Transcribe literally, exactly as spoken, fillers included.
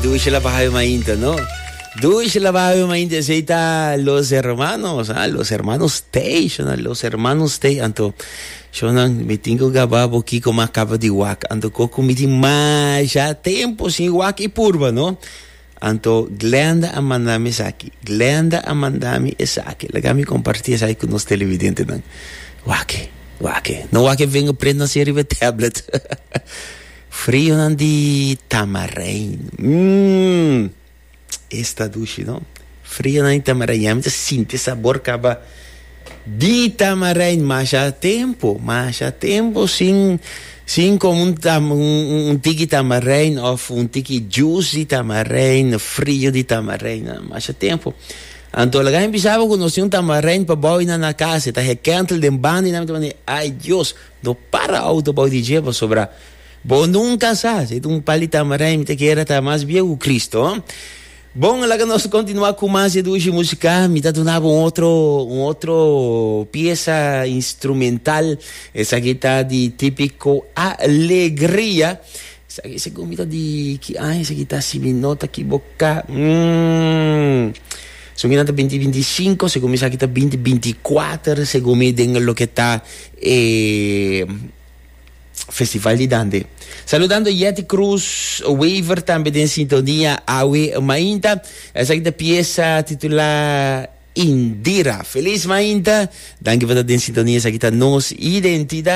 Dushi laba awe mainta, no? Dushi laba awe mainta, esey ta Los Hermanos, ah, Los Hermanos Station, Los Hermanos Station. Anto, shonan, mi tin cu gaba bo kico m'a caba di wak. Anto, cu mi tin masha tempo sin wak y purba, no? Anto, Glenda a manda mi esaki. Glenda a manda mi esaki. Laga mi comparti esaki cu nos televidentenan. Wak, wak. No wak fingerprint na riba tablet. Frionan di tamarijn. Mmm. Esta dushi, no? Frionan di tamarijn. Mi sinti sabor caba di tamarijn. Masha tempo, masha tempo sin sin come un, tam, un, un tiki tamarijn of un tiki juice di tamarijn, frio di tamarijn. Masha tempo. Anto, laga mi bisa bo cu nos tin un tamarijn pabou na na cas, ta rekentel den banda na mi. Ay Dios, no para auto bou di dje sobra. Bo nunca sa, si un pal'i tamarijn mi ta kere ta mas bieu cu Cristo. Bon, laga nos continua cu mas dushi musica. Mi ta duna un otro, un otro pieza instrumental. Esaki ta di Tipico Alegria. Esaki segun mi ta di ki aña esaki ta, si mi no ta equivoca. Mm. Segun mi ta binti binticinco, segun mi esaki ta binti binticuater, segun mi den loke ta eh, Festival di Dande. Saludando Yeti Cruz Waver tambe den sintonia awe mainta. Esaki ta pieza titula Indira. Feliz mainta. Danki pa den sintonia. Esaki ta Nos Identidad.